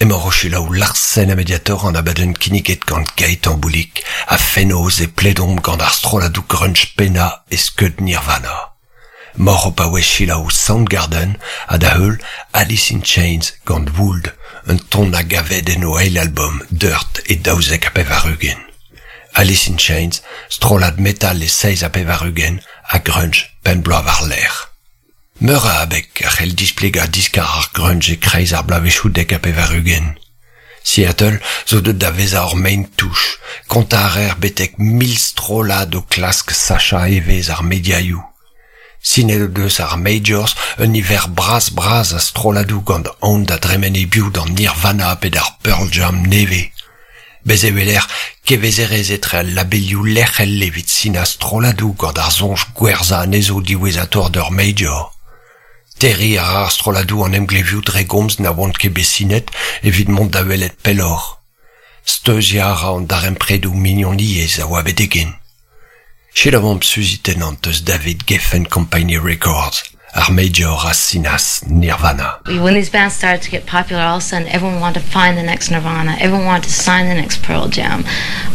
Emaoc'h o selaou Larsen ha Mediator an abadenn kinniget gant Gaëtan Boulic ha fenoz e pledomp gant ar strolladoù grunge pennañ e skeud Nirvana. Moc'h o paouez selaou Soundgarden ha da heul Alice in Chains gant Would, un ton a gaved en o eil album Dirt e 92. Alice in Chains, strollad metal e 87 ha grunge pemp bloaz war-lerc'h. Meur a abeg a c'hell displegañ diskar ar grunge e-kreiz ar bloavezhioù 90. Seattle zo deuet da vezañ ur maen-touch, kontañ a reer betek 1000 strollad o klask sachañ evezh ar mediaioù. Sinet o deus ar majors un niver bras-bras a strolladoù gant aon da dremen hebiou d'an Nirvana pe d'ar Pearl Jam nevez. Bez' e weler kevezerezh etre al labelioù lec'hel evit sinañ strolladoù gant ar soñj gwerzhañ anezho diwezhatoc'h d'ur major. Terriñ a ra ar strolladoù an emglevioù dre gomz na oant ket bet sinet evit mont da welet pelloc'h. Steuziañ a ra an darempredoù mignoniezh a oa betek-henn. Selaouomp Suzy Tennant eus David Geffen Company Records, ar major a sinas Nirvana. When these bands started to get popular, all of a sudden everyone wanted to find the next Nirvana. Everyone wanted to sign the next Pearl Jam.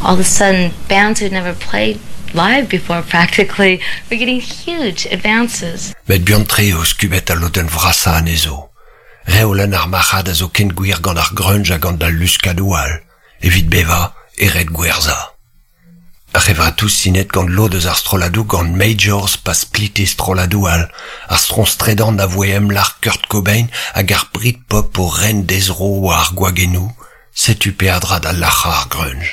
All of a sudden, bands who'd never played live before practically were getting huge advances. Met buan-tre eo skubet al lodenn vrasañ anezho. Reolenn ar marc'had a zo ken gwir gant ar grunge ha gant al luskadoù all. Evit bevañ e ret gwerzhañ. Ar c'hevratoù sinet gant lod eus ar strolladoù gant majors pa splite strolladoù all, ar stroñs tredan a voe emlac'h Kurt Cobain hag ar Britpop o ren d'he zro war ar gwagennoù, setu peadra da lac'hañ ar grunge.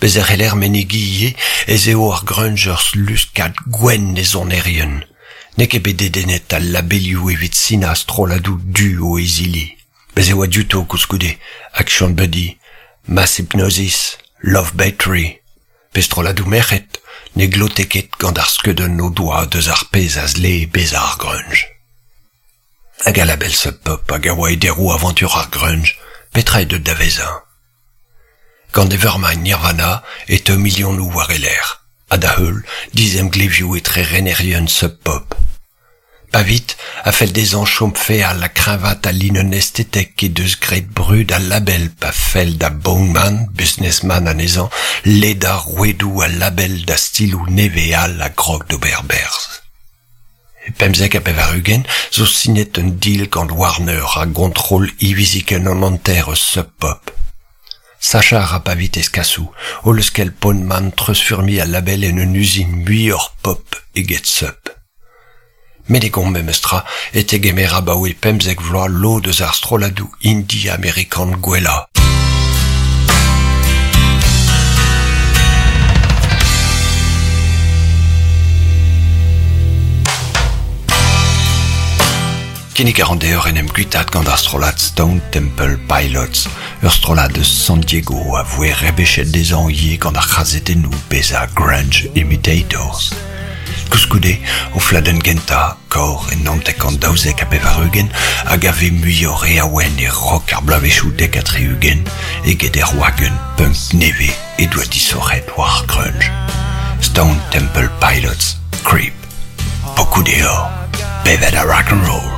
Bez' e c'heller menegiñ ivez ez eo ar grunge ur luskad gwenn e sonerien. N'eo ket bet dedennet al labelioù evit sinañ strolladoù du o izili. Bez' e oa diouto koulskoude Action Buddy, Mass Hypnosis, Love Battery pe strolladoù merc'hed ne glote ket gant ar skeudenn o doa deus ar pezh a zlee bezañ ar grunge. Hag al label Sub Pop hag a oa e deroù avantur ar grunge, petra eo deuet da vezañ? Gant Nevermind Nirvana e teu milionoù war e lerc'h, ha da heul dizemglevioù etre renerien Sub Pop. Pavit a fell dezhañ chom feal ha kreñvaat al linenn estetek he deus graet brud al label pa fell da Bowman, businessman anezhañ, ledañ rouedoù al label da stiloù nevez all a grog d'ober berzh. E 95 zo sinet un deal gant Warner a gontrol hiviziken an hanter eus Sub Pop. Sachañ a ra Pavit eskasoù o leuskel Bowman treuzfurmiñ al label en un uzin muioc'h pop eget sub. Met e gont memestra e tegemer abaoe 15 vloaz lod eus ar strolladoù indie amerikan gwellañ. Kinnig a ran deoc'h en em guitaat gant ar strollad Stone Temple Pilots, ur strollad eus San Diego a voe rebechet dezhañ ivez gant ar c'hazetennoù bezañ grunge imitators. Koulskoude, o fladenn gentañ, Kor e 1992, a gave muioc'h re awen e rock ar bloavezhioù 70 eget er wagenn punk nevez he doa disoc'het war ar grunge. Stone Temple Pilots, Creep. Pokoù deoc'h, bevet ar rock 'n' roll!